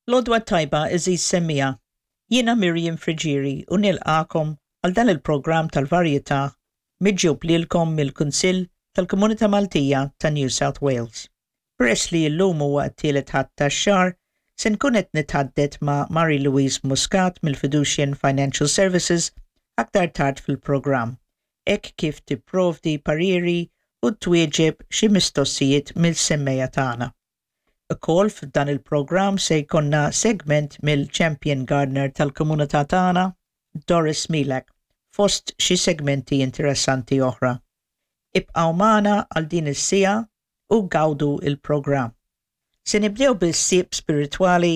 L-għodwa t-tajba għeżież semmiegħa, jiena Miriam Friggieri u nilqagħkom għal dan il-programm tal-varjetà miġjub lilkom mill-Kunsill tal-Komunità Maltija ta' New South Wales. Peress li llum huwa t-tielet Ħadd tax-xahar, se nkun qed nitħaddet ma' Marie Louise Muscat mill-Fiducian Financial Services aktar tard fil-programm, hekk kif tipprovdi pariri u twieġeb xi mistoqsijiet mill-semmiegħa tagħna. Ukoll f'dan il-programm se jkollna segment mill-Champion Gardener tal-komunità tagħna, Doris Milak, fost xi segmenti interessanti oħra. Ibqgħu magħna għal din is-siegħa u gawdu il-programm. Se nibdew bil-ħsieb spiritwali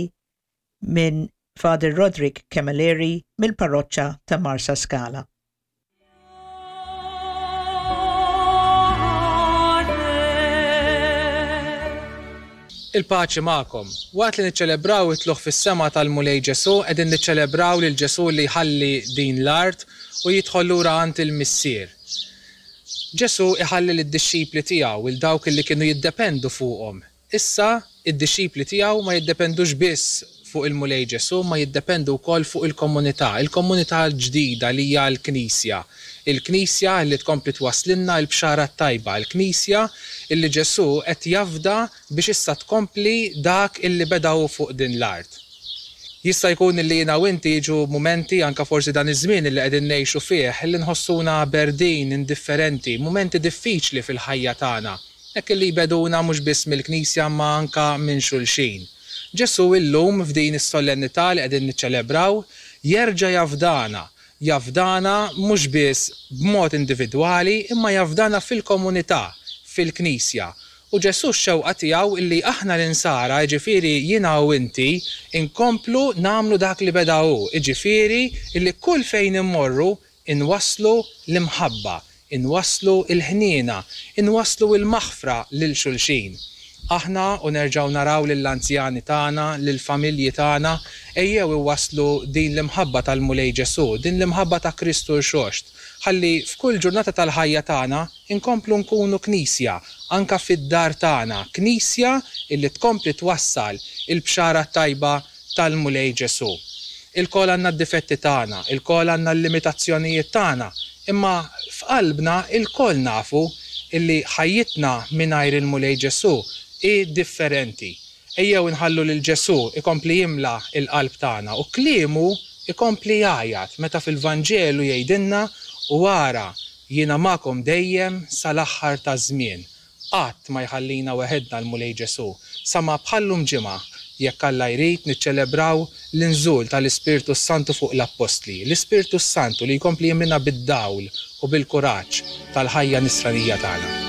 minn Father Roderick Camilleri mill-parroċċa ta' Marsaskala. Il-paċi magħkom. Waqt li niċċelebraw it-tlugħ fis-sema tal-Mulej Ġesù, qegħdin niċċelebraw lil Ġesù li jħalli din l-art u jidħol lura għand il-Missier. Ġesù iħalli lid-dixxipli tiegħu, 'il dawk li kienu jiddependu fuqhom, Issa, id-dixxipli tiegħu ma jiddependux biss fuq il-Mulej Ġesù imma jiddependu wkoll fuq il-komunità, il-komunità l-ġdida li hija l-Knisja. Il-Knisja li tkompli twasslilna l-Bxara t-Tajba, il-Knisja li Ġesù qed jafda biex issa tkompli dak illi beda hu fuq din l-art. Jista' jkun li jiena u inti jiġu mumenti, anke forsi dan iż-żmien li qegħdin ngħixu fih, li nħossuna berdin, indifferenti, mumenti diffiċli fil-ħajja tagħna. Hekk illi jbegħduna mhux biss mill-Knisja imma anka minn xulxin. Ġesù illum f'din is-solennità li qegħdin niċċelebraw jerġa' jafdana, jafdana mhux biss b'mod individwali imma jafdana fil-komunità, fil-Knisja. U Ġesù x-xewqa tiegħu illi aħna l-insara, jiġifieri jiena u inti, inkomplu nagħmlu dak li beda hu, jiġifieri illi kull fejn immorru Inwasslu l-imħabba, inwasslu l-ħniena, inwasslu l-maħfra lil xulxin. Aħna u nerġgħu naraw lill-anzjani tagħna, lill-familji tagħna, ejjew iwasslu din l-imħabba tal-Mulej Ġesù, din l-imħabba ta' Kristu Rxoxt, ħalli f'kull ġurnata tal-ħajja tagħna nkomplu nkunu Knisja, anke fid-dar tagħna, Knisja illi tkompli twassal il-Bxara t-Tajba tal-Mulej Ġesù. Ilkoll għandna d-difetti tagħna, ilkoll għandna l-limitazzjonijiet tagħna, imma f'qalbna ilkoll nafu illi ħajjitna mingħajr il-Mulej Ġesù hi differenti. Ejjew inħallu lil Ġesù ikompli jimla l-qalb tagħna u kliemu ikompli jgħajjat meta fil-Vanġelu jgħidilna, U ara, jiena magħkom dejjem sal-aħħar taż-żmien. Qatt ma jħallina weħidna l-Mulej Ġesù, sa ma bħal-lum ġimgħa, jekk Alla jrid, niċċelebraw l-inżul tal-Ispirtu s-Santu fuq l-Appostli, l-Ispirtu s-Santu li jkompli jimlina bid-dawl u bil-kuraġġ tal-ħajja nisranija tagħna.